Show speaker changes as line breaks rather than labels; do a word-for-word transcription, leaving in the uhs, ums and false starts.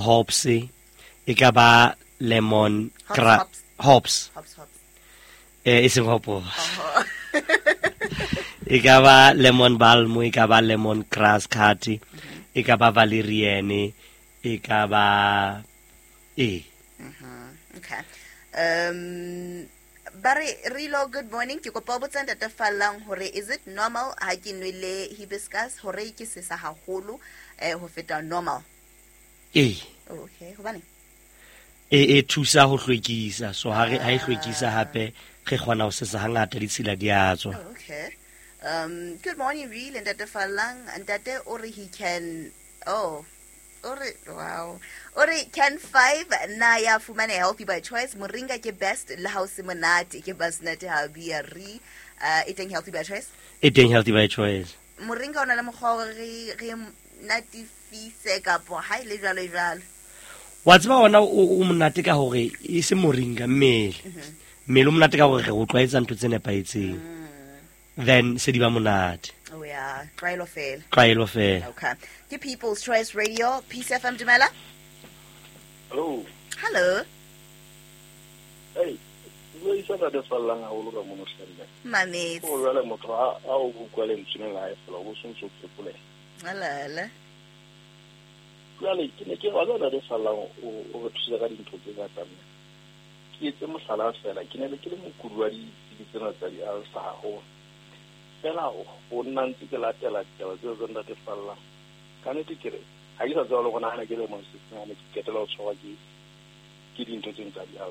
Hops e ka ba lemon
Hops,
gra
hops.
Hops.
Hops, hops.
Eh, e seng hopo. E ka ba lemon balm, e ka ba lemon grass cut, e ka ba valerian, e ka ba e
Okay. Um ba re Rilo, good morning. Ke kopa ho botsa Ntate Fallang hore is it normal ha ke nwele hibiscus hore ke sesa haholo eh ho feta normal?
E.
Oh, okay. Hobane?
E e thusa ho hlwekisa, so ha re ha e hlwekisa hape re kgona ho sesa hangata, ditshila di a tswa.
Oh, okay. Um good morning, Real and Ntate Fallang. Ntate o re he can, oh, o re, wow. O re can five na ya fumane Healthy by Choice? Moringa ke best le ha o se monate ke basnate ha bia re uh e teng Healthy by Choice?
E teng Healthy by Choice.
Moringa o na le mokgwa wa hore re re natifise kapo ha e le jwalo jwalo?
Wa tseba ona o o monate ka hore e se moringa, mmele mmele o monate ka hore re o tlwaetsa ntho tse nepahetseng, then se di ba monate.
Oh yeah, tlwaelo fela.
Tlwaelo fela.
Okay, ke People's Choice Radio, Peace F M, dumela.
Hello.
Hello.
Hey, o isa Ntate Fallang haholo ka mono hlemme.
Mametse.
O jwale motho ha a o utlwa lentswe la hae fela, o bo sontso o phekoleha.
Alala.
Jwale ke ne ke wa Ntate Fallang o o re thusa ka dintho tse ngata mme. Ke etse mohlala fela, ke ne le ke le mokudi wa ditsebi tsena tsa di-ulcer haholo. Fela o nna ntse ke latela ditaba tseo tsa Ntate Fallang. Ka nnete ke re, ha ke sa tseba le go nahana ke le mong se ke ketela ho tshwarwa ke ke dintho tseno tsa di-ulcer.